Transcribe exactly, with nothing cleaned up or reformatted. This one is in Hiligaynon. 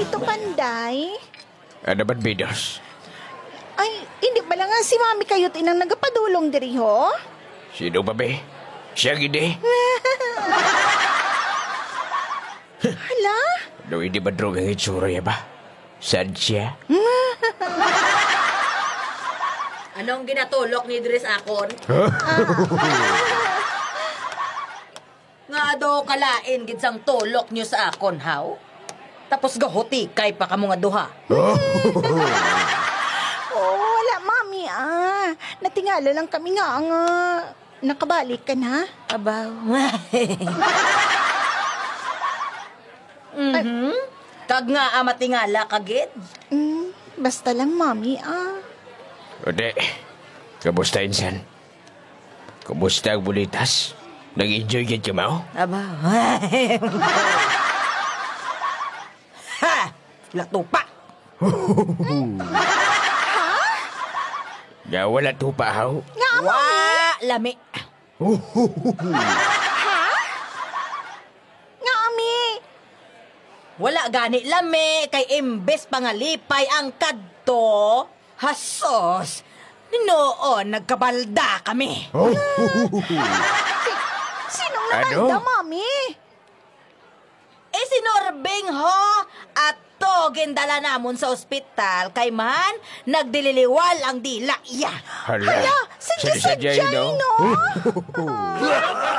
Ito, Panday. Ano man, Bidos? Ay, hindi ba lang nga si Mami kayo tinang nagapadulong diri, ho? Sino ba, be? Siya gid, eh. Hala? No, hindi ba drog ang itsura niya ba? Saan siya? Anong ginatulok ni Dres akon? Huh? Nga daw kalain gid sang tulok niyo sa akon, haw? Tapos gahutikay pa kamo nga duha. Oh, wala, Mami, ah. Natingala lang kami nga, nga nakabalik ka na. Abaw. Mhm. Kag nga, ah, matingala ka gid? Mm, basta lang, Mami, ah. Ode, kamusta, Insan? Kumusta ang bulitas? Nag-enjoy gid ka, mao? Aba. Ha! Latupa! Nga wala tupa, haw? Nga, Mami? Wa, lami. Ha? Nga, Ami? Wala gani lami, kay imbes pangalipay ang kadto, hasos, noon nagkabalda kami. Oh. Si-, sinong Ano? Nabalda, Mami? Eh, si Norbing, ho, ato gindala namon sa ospital, kay man, nagdililiwal ang dila iya. Hala, Hala, sadya-sadya, sadya, no? No?